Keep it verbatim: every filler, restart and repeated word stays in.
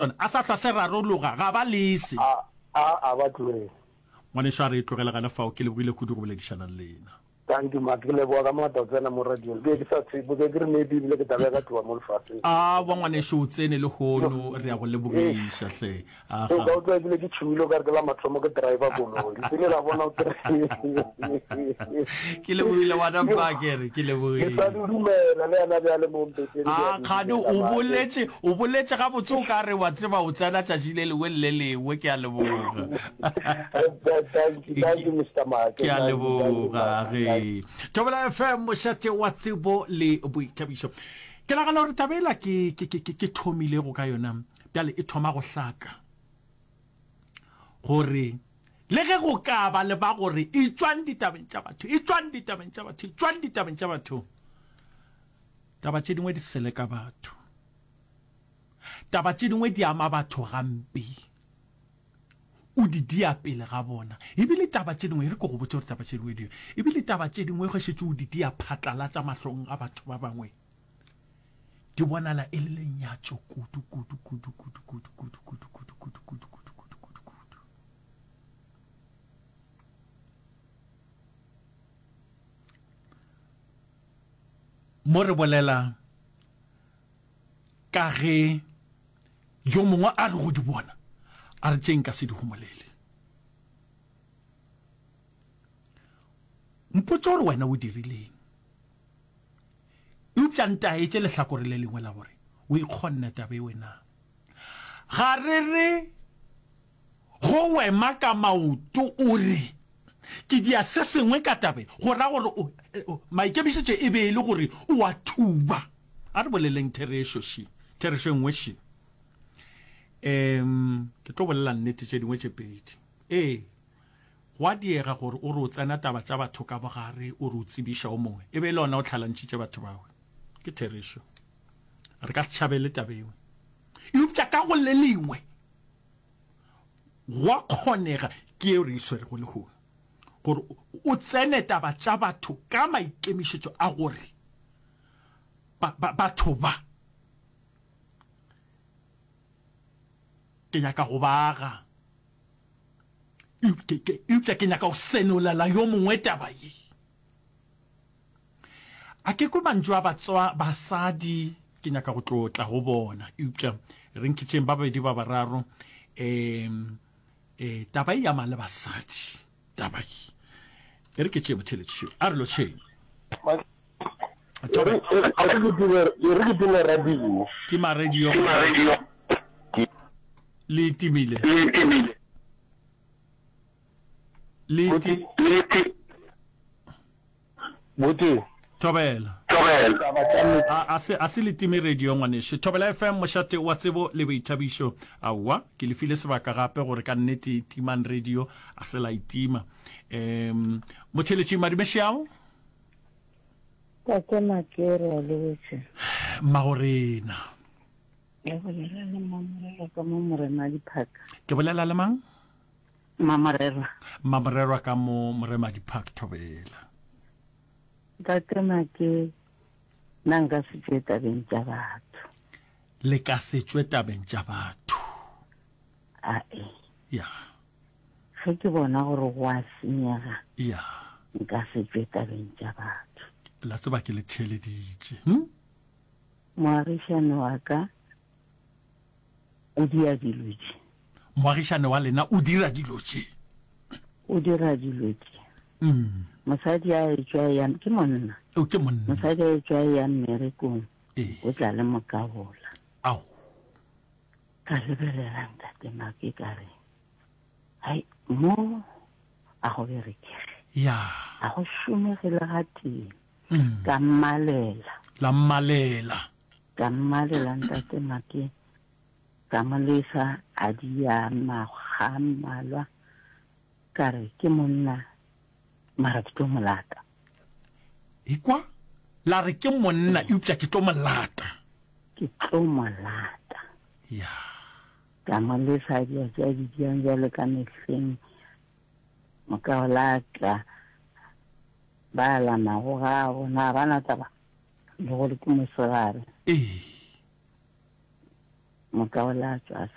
Sona a sa hlwa se rarologa, ga ba lese. A, a, a ba tlogele. Ngwanešu, a re e tlogele gana fao. Ke lebogile kudu go boledišana le lena. Thank you Mark, ke leboga ka maatla go tsena mo radiong. Ke be ke sa tshepe, ke be ke re maybe ebile ke tla be ka tloga mo lefaseng. Aowa ngwanešu, o tsene lehono, re a go lebogiša hle. Aga. O ka utlwa ebile ke tšhogile o ka re ke la mathomo ke driver koloi. Le la bona o kry. Ke lebogile ngwana mma, ke re ke lebogile. Ke sa di dumela le yana bjale mo mpeteng. A kgane o boletše, o boletše gabotse o ka re wa tseba o tsena tšatši le lengwe le le lengwe. Ke a leboga. Thank you, thank you Mister Make. Ke a leboga ge. Thobela F M mošate wa tsebo le boithabišo. Ke nagana gore taba ela ke ke ke ke thomilego ka yona bjale e thoma go hlaka gore le ge go ka ba le ba gore e tšwang ditabeng tša batho, e tšwang ditabeng tša batho, e tšwang ditabeng tša batho, taba tše dingwe di seleka batho, taba tše dingwe di ama batho gampe, o di dia pele ga bona. Ebile taba tše dingwe, e re ke go botše gore taba tše dingwe di, ebile taba tše dingwe ge šetše o di dia phatlalatša mahlong a batho ba bangwe, di bonala e le lenyatšo kudu, kudu, kudu, kudu, kudu, kudu, kudu, kudu, kudu, kudu, kudu, kudu, kudu, kudu. Mo re bolela ka ge yo mongwe a re go di bona, a re tše nka se di homolele. Mpotše gore wena o dirileng. Eupša ntaetše lehlakore le lengwe la gore o ikgonne taba eo na. Ga re re go wema ka maoto o re ke dia se sengwe ka taba e, go ra gore o, maikemišetšo e be e le gore o a thuba. A re boleleng therešo še, therešo e nngwe še. Um, ke tlo bolela nnete tše dingwe tše pedi. Ee. Go a diega gore o re o tsena taba tša batho ka bogare, o re o tsebiša o mongwe, e be e le ona o tlhalantšhitše batho bao. Ke therešo. Re ka se tšhabele taba yeo. Eupša ka go le lengwe, go a kgonega, ke yeo re e swerego lehono, gore o tsene taba tša batho ka maikemišetšo a gore ba, ba, batho ba, ke nyaka go ba aga. Eupša ke nyaka go senolela yo mongwe taba ye. A ke kwe mantšu a batswa basadi, ke nyaka go tlo tla go bona. Eupša re nkitšeng ba babedi ba bararo, um eh, taba e ama le basadi, taba ye. E re ke tšee motheeletši šo, a re lotšheng. Thobela. E re ke time radio. Tima radio. Le timile. Le ti. Buti. Thobela. A, a se, a se le time radio ngwanešu. Thobela F M, mošate wa tsebo le boithabišo. Aowa, ke le file sebaka gape gore ka nnete timang radio, a se la e tima. Um, motheeletši Madumešeao. Tate Makere wa lotšha. Mmagorena. Ke bolela le Mmamorerwa ka mo Moremadi Park. Ke bolela le mang? Mmamorerwa. Mmamorerwa ka mo Moremadi Park, Thobela. Ntate Make, nna nka se tšwe tabeng tša batho. Le ka se tšwe tabeng tša batho. Ae. Ya. Ge ke bona gore go a senyega. Ya. Nka se tšwe tabeng tša batho. La tseba ke le theeleditše. Hm? Moagišane wa ka o dia dilo tše. Moagišane wa lena o dira dilo tše. O dira dilo tše. Mm. Mosadi a etšwa ya, ke monna. O ke monna. Mosadi a etšwa ya mmerekong. Ee. O tla le mokabola. Ao. Ka lebelela ntate Make ka re, hai, mo a go berekege. Ya. A go šomege le gatee. Mm. Ka mmalela. La mmalela. Ka mmalela ntate Make. Ka mo lesa a dia makga a mmalwa. Ka re ke monna mara ke tlo mo lata. Ekwa, la re ke monna eupša ke tlo mo lata. Ke tlo mo lata. Ya. Ka mo lesa a dia tše a di diang bjalo ka mehleng. Mokaola a tla ba lamago ga bona, ga ba na taba le gore ke mosegare. Ee. Moka o la tšwa